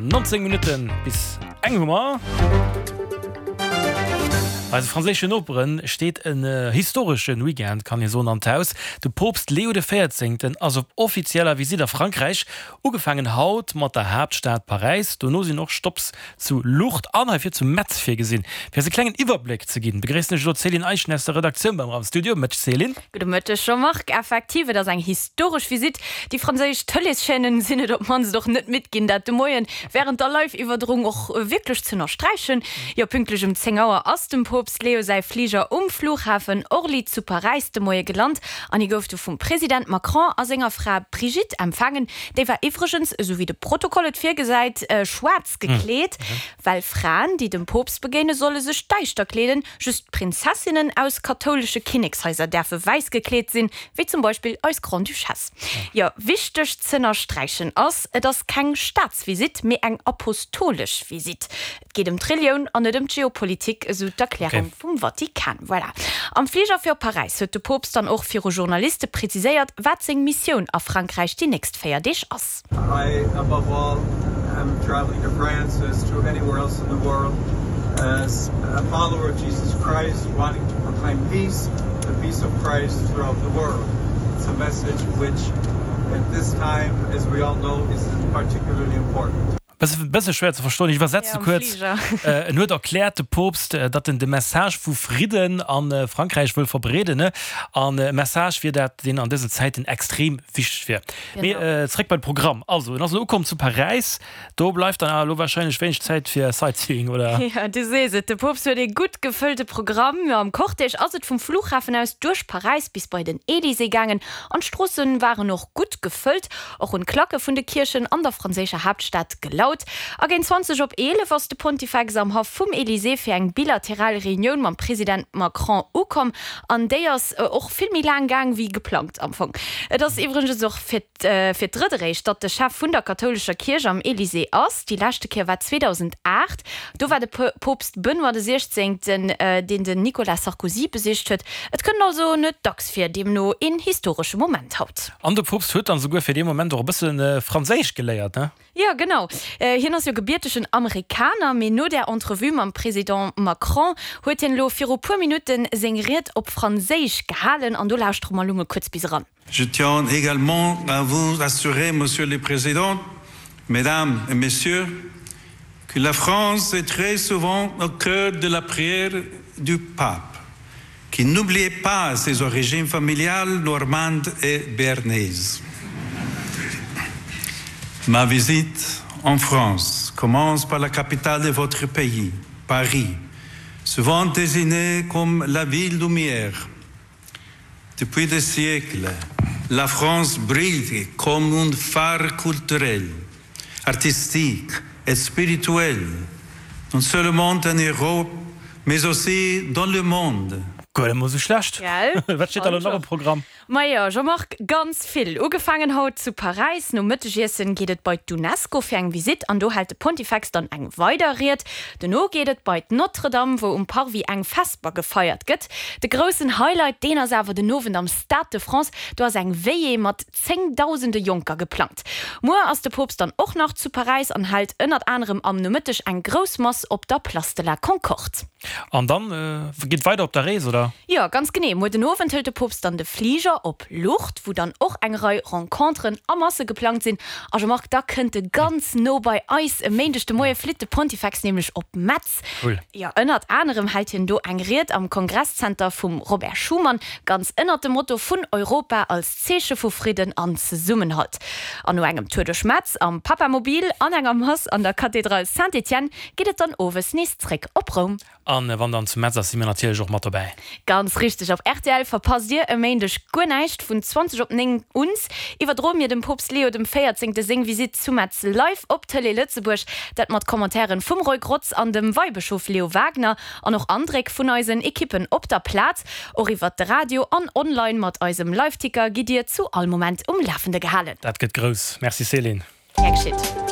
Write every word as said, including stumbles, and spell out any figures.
nonzéng Minutten bis eng hu mer. Bei eise franséischen Nopere steet en historesche Weekend, kann ee soen, an d'Haus. De Poopst Leo de Véierzéngten ass op offizieller Visitt a Frankräich. Ugefaangen haut mat der Haaptstad Paräis, dono sinn och Stopps zu Lourdes an heivir zu Metz virgesinn. Fir eis e klengen Iwwerbléck ze ginn, begréissen ech elo d'Céline Eischen aus der Redaktioun beim am Studio. Mëtteg Céline. Gudde Mëtteg Jean-Marc. Effektiv, et ass eng historesch Visitt. Déi franséisch Tëleeschaînen sinn et op d'mannst och net midd ginn, dat de Moien wärend der Live-Iwwerdroung och wierklech z'ënnersträichen. Jo, pünktlech um zéng Auer ass dem Poopst Leo säi Fliger um Flughafen Orly zu Paräis de Moie gelant an hie gouf du vum President Macron a senger Fra Brigitte empfaangen. Déi war iwwregens, esou wéi de Protokoll et virgesäit, schwaarz gekleet, well Fraen, déi dem Poopst begéine solle sech däischter kleeden. Just d'Prinzessinnen aus kathoulesche Kinnekshaiser däerfe wäiss gekleet sinn, wéi zum Beispill eis Grande-Duchesse. Jo, wichteg z'ënnersträichen ass, et ass keng Staatsvisitt, mee eng apostolesch Visitt. Et geet ëm d'Relioun an net ëm d'Geopolitik, esou d'Erklärung vum Vatikan. Voilà. Am Fliger fir op Paräis huet de Poopst dann och viru Journaliste preziséiert, wat seng Missioun a Frankräich déi nächst véier Deeg ass. I, above all, am traveling to France as to anywhere else in the world as a follower of Jesus Christ wanting to proclaim peace, the peace of Christ throughout the world. It's a message which at this time, as we all know, is particularly important. Bësse schwéier ze verstoen, ech iwwersetze kuerz. En huet erkläert, de Poopst, datt en de Message vu Fridden a Frankräich wëll verbreeden. An e Message wier dat, deen an dësen Zäiten extrem wichteg wier. Mee zeréck bei de Programm. Also, en ass elo ukomm zu Paräis. Do bleift dann awer elo warscheinlech wéineg Zäit fir Sightseeing, oder? Jo, du sees et, de Poopst huet ee gutt gefëllte Programm. Am Cortège ass et vum Flughafen aus duerch Paräis bis bei den Elysée gaangen an d'Stroosse waren och gutt gefëllt. Och hunn d'Klacke vun de Kierchen an der franséischer Haaptstad gelaut. A géint zwanzeg op eelef ass de Pontifex am Haff vum Elysée fir eng bilateral Reunioun mam President Macron ukomm. An déi ass och vill méi laang gaang wéi geplangt am Fong. Et ass iwwregens och fir fir d'drëtt eréischt, datt de Chef vun der kathoulescher Kierch am Elysée ass. Déi leschte Kéier war zweedausendacht. Do war de Poopst Benoît de Siechzéngten, deen den Nicolas Sarkozy besicht huet. Et kënnt also net dacks vir, deemno een historesche Moment haut. An de Poopst huet dann esouguer fir dee Moment och e bësse Franséisch geléiert, ne? Jo, genau. Hien ass jo gebiertegen Amerikaner, mee no där Entrevue mam President Macron huet hien elo viru puer Minutte seng Ried op Franséisch gehalen an do lauschtere mer elo mol kuerz bis eran. Je tiens également à vous assurer, Monsieur le Président, Mesdames et Messieurs, que la France est très souvent au cœur de la prière du Pape, qui n'oubliait pas ses origines familiales normandes et béarnaises. Ma visite en France commence par la capitale de votre pays, Paris, souvent désignée comme la ville lumière. Depuis des siècles, la France brille comme un phare culturel, artistique et spirituel, non seulement en Europe, mais aussi dans le monde. Guer net mol sou schlecht. Gell? Wat steet da elo nach um Programm? Majo, Jean-Marc, ganz vill. Ugefaangen haut zu Paräis. Nom Mëttegiessen geet et bei d'UNESCO fir eng Visitt an do hält de Pontifex dann eng weider Ried. Dono geet et bei d'Notre-Dame, wou um Parvis eng Vesper gefeiert gëtt. De groussen Highlight, deen ass awer den Owend am Stade de France. Do ass eng Veillée mat zéngdausende Jonker geplangt. Muer ass de Poopst dann och nach zu Paräis an hält ënnert anerem am Nomëtteg eng grouss Mass op der Place de la Concorde. An dann geet weider op der Rees, oder? Jo, ganz genee. Muer den Owend hëlt de Poopst dann de Fliger op Lourdes, wou dann och eng Rei Renconteren a Masse geplangt sinn. A Jean-Marc, da kënnt e ganz no bei eis. E Méindeg de Moie flitt de Pontifex nämlech op Metz. Cool. Jo, ënnert anerem hält hien do eng Ried am Kongresszenter vum Robert Schuman, ganz ënnert dem Motto vun Europa als Zeeche vu Fridden an Zesummenhalt. An no engem Tour duerch Metz am Papamobil an enger Mass an der Kathedral Saint-Étienne geet et dann owes nees zréck op Roum. An wann dann zu Metz ass, si mir natierlech och mat dobäi. Ganz richteg, op rtl verpasst dir e Méindeg guer näischt. Vun zwanzeg op néng uns iwwerdroe mir dem Poopst Leo dem Véierzéngte seng Visitt zu Metz live op Tëlee Lëtzebuerg. Dat mat Commentairen vum Roy Grotz an dem Weibëschof Leo Wagener an och Andréck vun eisen Ekippen op der Plaz. Och iwwert de Radio an online mat eisem Liveticker gitt dir zu all Moment um Lafende gehalen. Dat gëtt grouss. Merci Céline. Gär geschitt.